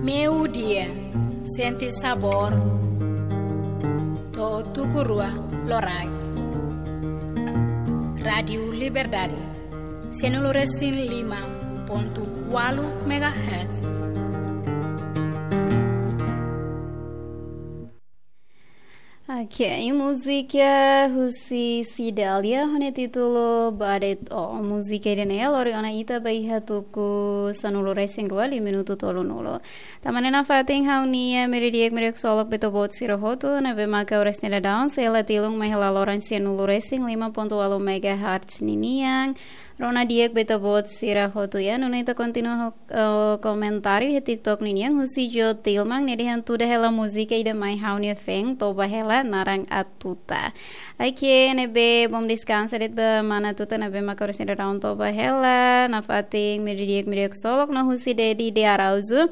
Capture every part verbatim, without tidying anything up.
Meio-dia, sente sabor. To'o tuku rua loraik. Rádiu Liberdade, sianulu resin lima pontu ualu megahertz. Oke, múzika husi Cidalia ho nia títulu Badet O. Múzika ida-ne'e lori ona ita ba iha tuku sanulu resin rua liu minutu tolunulu. Tanba ne'e nafatin ha'u-nia meio-dia di'ak, meio-dia ksolok ba ita-boot sira hotu ne'ebé maka oras ne'e daudaun sei la tilun mai hela loron sianulu resin lima pontu ualu megahertz ninian. Rona di'ak ba ita-boot sira hotu ya. Nune'e ita kontinua ho, eh, komentáriu iha TikTok ninian husi Jo Tilman, nia dehan tuda hela múzika ida mai ha'u-nia fan, toba hela naran Atuta. Oke, ne'ebé bom deskansa de'it ba mana Atuta ne'ebé maka oras ne'e daudaun toba hela, nafatin meio-dia di'ak, meio-dia ksolok. No husi Dedi de Araújo,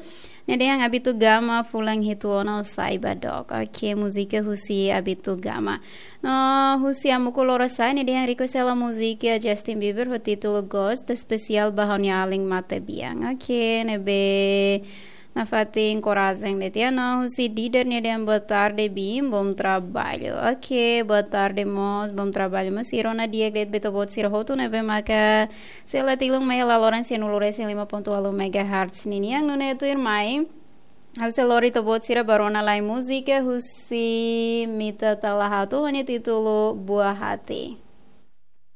nia dehan Abito Gama fulan hitu ona ou sai ba dook. Oke, múzika husi Abito Gama. No husi Amuku Lorosa'e, nia dehan request hela múzika Justin Bieber ho títulu Ghost, espesiál ba ha'u-nia alin matebian. Oke, ne'ebé nafatin korajen de'it ya. No husi Dider, nia dehan boa tarde Bim, bom trabalho. Oke, boa tarde mós, bom trabalho mós. I rona di'ak de'it ba ita-boot sira hotu ne'ebé maka sei la tilun mai hela loron sianulu resin lima pontu ualu megahertz ninian. Nune'e tuirmai ha'u sei lori ita-boot sira ba rona lai múzika husi Mita Talahatu ho nia títulu Buah Hati.